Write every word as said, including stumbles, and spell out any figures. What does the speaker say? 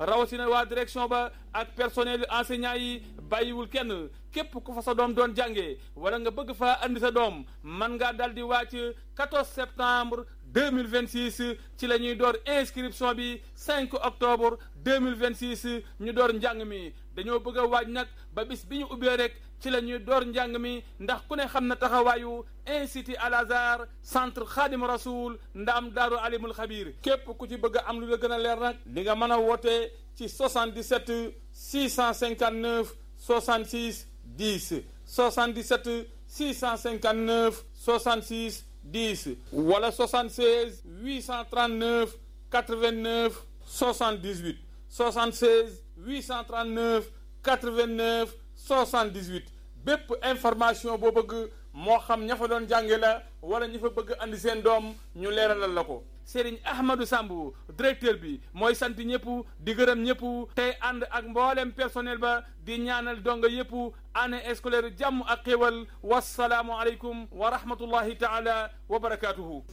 rawatina waa direction ba ak personnel enseignant yi bàyyiwul kenn képp ku fa sa doom doon jàngee wala nga bëgg faa andi sa doom man ngaa dal di wàcc quatorze septembre deux mille vingt-six ci la ñuy door inscription bi cinq octobre deux mille vingt-six ñu door njàng mi dañoo bëgg a waaj nag ba bis bi ñu ubbee rek ci la ñuy door njàng mi ndax ku ne xam na taxawaayu institut Al Azhar centre Khadim Rasoul ndaam daaru alimul xabir képp ku ci bëgg a am lu la gën a leer nag di nga mën a woote ci soixante-dix-sept six cent cinquante-neuf soixante-six dix soixante-dix-sept six cent cinquante-neuf soixante-six dix wala soixante-seize huit cent trente-neuf quatre-vingt-neuf soixante-dix-huit soixante-seize huit cent trente-neuf quatre-vingt-neuf soixante-dix-huit bépp information boo bëgg moo xam ña fa doon jànge la wala ñi fa bëgg andi seen doom ñu leeralal la ko Serigne Ahmadou Samb directeur bi mooy sant ñëpp di gërëm ñëpp tey ànd ak mboolem personnel ba di ñaanal donga yëpp année scolaire jàmm ak xéwal wasalaamu aleykum wa rahmatullahi taala wa barakatuhu